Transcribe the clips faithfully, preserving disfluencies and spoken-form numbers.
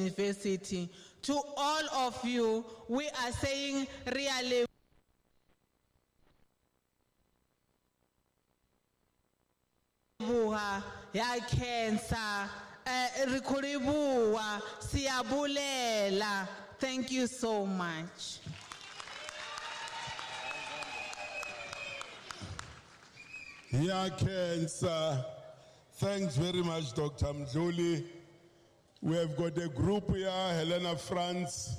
University. To all of you, we are saying really ya cancer, re khou livhuwa, siyabulela. Thank you so much. Ya cancer. Thanks very much, Doctor Mdluli. We have got a group here, Helena France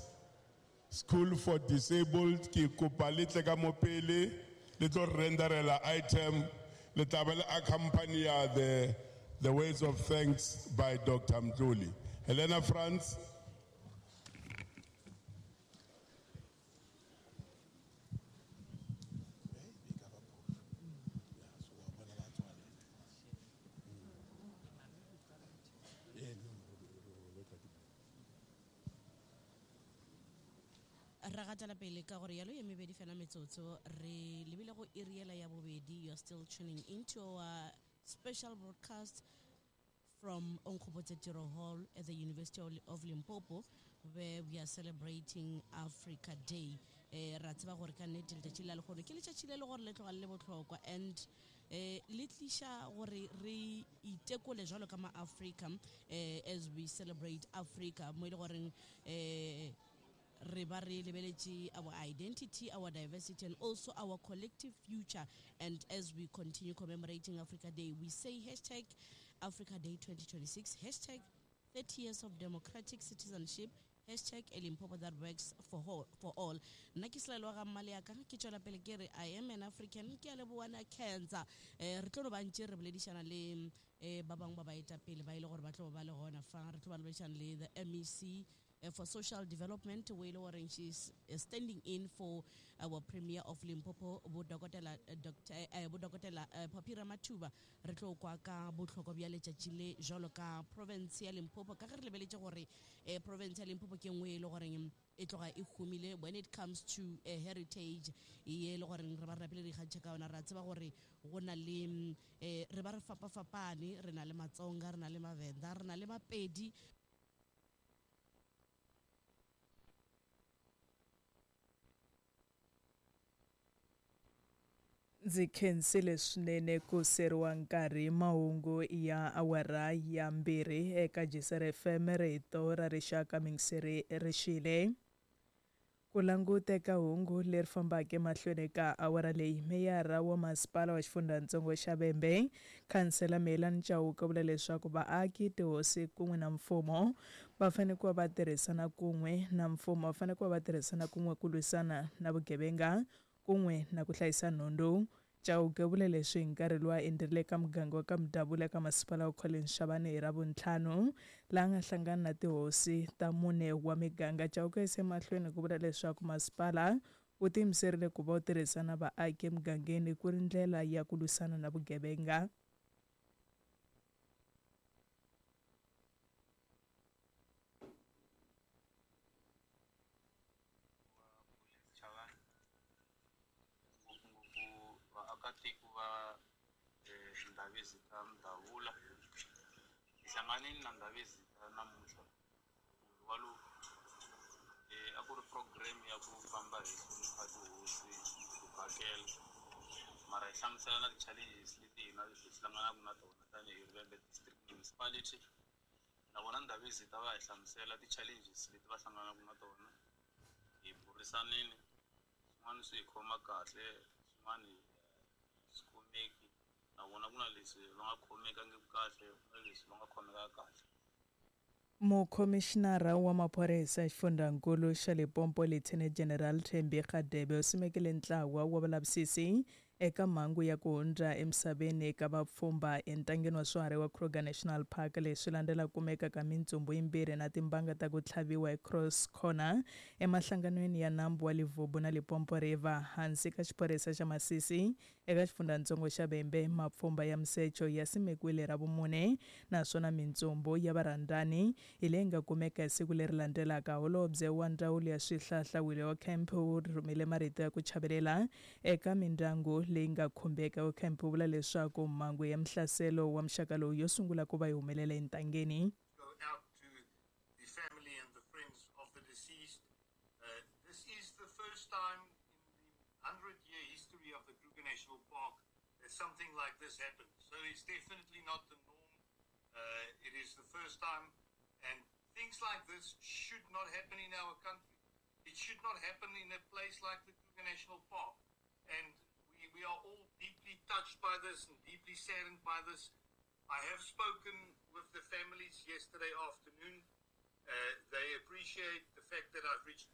School for Disabled. Ke kopa le tle ka mo pele, le tlo renderela item, le tla be le accompany the, the words of thanks by Doctor Mdluli. Helena France. Ra gatela pele ka gore yalo ye mebedi fela metsotso re lebile go iriela ya bobedi. You are still tuning into our special broadcast from Onkgopotse Tiro Hall at the University of Limpopo, where we are celebrating Africa Day. Eh, ra tseba gore ka nnete letšatši la lehono ke letšatši le le gore le tloga le le bohlokwa, and eh, le tliša gore re itekole jwalo ka ma-Africa, eh, as we celebrate Africa, mo e le goreng eh, re ba re lebeletše our identity, our diversity, and also our collective future. And as we continue commemorating Africa Day, we say hashtag Africa Day twenty twenty-six, hashtag thirty years of democratic citizenship, hashtag a Limpopo that works for all, for all. Nna ke Selaelo ga Mmaleaka, ke tšwela pele ke re I am an African, ke a leboha na cancer. Eh, re tlo no ba ntše re boledišana le eh, ba bangwe ba baetapele ba ile gore ba tlo ba le gona fa. Re tlo ba boledišana le the M E C for Social Development, we know she's standing in for our Premier of Limpopo, bo Dokotela Doctor bo Dokotela Phophi Ramathuba. Re tlo kwa ka bohlokwa bja letšatši le jwalo ka province ya Limpopo, ka ge re lebeletše gore province ya Limpopo ke nngwe e le goreng e tloga e humile when it comes to a heritage ye le gore re ba re rapele dikgantšha ka yona. Ra tseba gore go na le re ba re fapafapane, re na le Matsonga, re na le Mavenda, re na le Mapedi. Ndzi khensile swinene ku seriwa nkarhi mahungu ya awara ya mbirhi eka G C R F M rito ra rixaka mingiseri rixile. Ku languteka hungu leri fambaka emahlweni ka awara leyi, meyara wa masipala wa xifundzatsongo xa Vhembe, Khansela Melani Chauke, vula leswaku vaaki, tihosi kun'we na mfumo va fanele ku va va tirhisana kun'we na mfumo va fanele ku va va tirhisana kun'we ku lwisana na vugevenga kun'we na ku hlayisa nhundzu. Chauke vule leswi hi nkarhi lowu a endzerile ka muganga wa ka Mdavula ka masipala wa Collins Chabane hi Ravuntlhanu, laha nga hlangana na tihosi ta mune wa miganga. Chauke yise mahlweni ku vula leswaku masipala wu tiyimiserile ku va wu tirhisana vaaki emugangeni ku ri ndlela ya ku lwisana na vugevenga. Mdavula hi hlanganile na Ndhavezitha namuntlha wa lowu eh a ku ri program ya ku famba hi hlonipha tihosi ku phakela, mara hi hlamusela na ti-challenges leti hina hi hlanganaka na tona tanihi Vhembe District Municipality. Na vona Ndhavezitha va hi hlamusela ti-challenges leti va hlanganaka na tona, hi burisanile, swin'wana swi hi khoma kahle, swin'wana swi khomeki. Na vona ku na leswi va nga khomekangiki kahle, ku na leswi va nga khomeka kahle. Mukhomishinara wa maphorisa xifundzankulu xa Limpopo Lieutenant General Thembi Radebe u simekile ntlawa wa vulavisisi eka mhangu ya ku hundza emisaveni eka vapfhumba entangeni wa swiharhi wa Kruger National Park. Leswi landzela kumeka ka mintsumbu yimbirhi na timbanga ta ku tlhaviwa hi Cross Corner emahlanganweni ya nambu wa Livubu na Limpopo River hansi ka xiphorisa xa Masisi eka xifundzatsongo xa Vhembe. Mapfhumba ya misecho ya simekiwile Ravumune naswona mintsumbu ya varhandzani hi leyi nga kumeka hi siku leri landzelaka. Holobye wa ndzawulo ya swihlahla Willie Camp u rhumele marito ya ku chavelela eka mindyangu leyi nga khumbeka. Camp u vula leswaku mhangu ya mihlaselo wa muxaka lowu yo sungula ku va yi humelela entangeni. Go out to the family and the friends of the deceased. Uh, this is the first time in the hundred-year history of the Kruger National Park that something like this happened. So it's definitely not the norm. Uh, it is the first time, and things like this should not happen in our country. It should not happen in a place like the Kruger National Park. And we, we are all deeply touched by this and deeply saddened by this. I have spoken with the families yesterday afternoon. Uh, they appreciate the fact that I've reached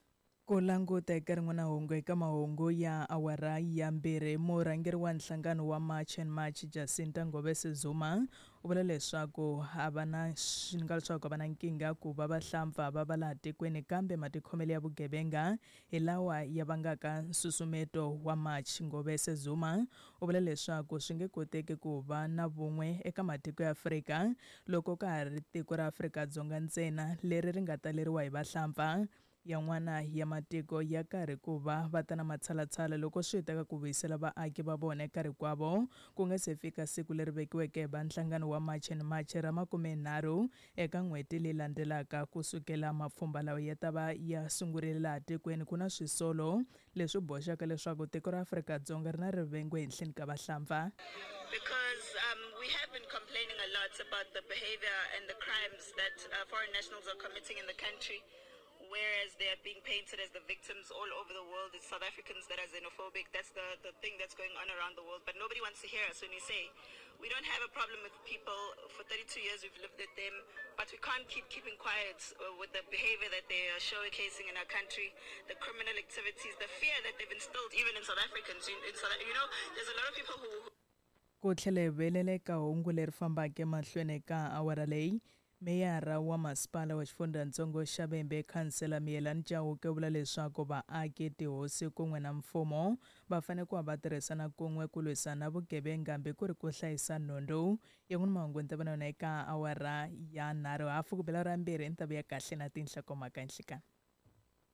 Ku languta eka rin'wana hungu eka mahungu ya awara ya mbirhi, murhangeri wa nhlangano wa March and March Jacinta Ngobese Zuma u vula leswaku a va na swi nga leswaku a va na nkingha ku va vahlampfa va va laha tikweni, kambe matikhomelo ya vugevenga hi lawa ya vangaka nsusumeto wa March. Ngobese Zuma u vula leswaku swi nge koteki ku va na vun'we eka matiko ya Afrika loko ka ha ri tiko ra Afrika-Dzonga ntsena leri ri nga taleriwa hi vahlampfa. Yan'wana ya matiko ya karhi ku va va ta na matshalatshala loko swi ta ka ku vuyisela vaaki va vona eka rikwavo ku nga se fika siku leri vekiweke hi va nhlangano wa March and March ra makumenharhu eka n'hweti leyi landzelaka. Ku sukela mapfhumba lawa ya ta va ya sungurile laha tikweni, ku na swisolo leswi boxaka leswaku tiko ra Afrika-Dzonga ri na rivengo ehenhleni ka vahlampfa. Because um, we have been complaining a lot about the behavior and the crimes that uh, foreign nationals are committing in the country, whereas they are being painted as the victims all over the world. It's South Africans that are xenophobic. That's the, the thing that's going on around the world. But nobody wants to hear us when we say we don't have a problem with people. For thirty-two years we've lived with them, but we can't keep keeping quiet with the behavior that they are showcasing in our country, the criminal activities, the fear that they've instilled even in South Africans. In, in South, you know, there's a lot of people who... Ku tlhela hi velela eka hungu leri fambaka emahlweni ka awara leyi, meyara wa masipala wa xifundzhantsongo xa Vhembe Khansela Miyelani Chauke u vula leswaku vaaki, tihosi kun'we na mfumo va fanele ku va va tirhisana kun'we ku lwisana vugevenga hambi ku ri ku hlayisa nhundzu. Yan'wana mahungu ni ta va na yona eka awara ya nharhu hafu ku bela ra mbirhi ni ta vuya kahle na tinhlokomhaka nhlikani.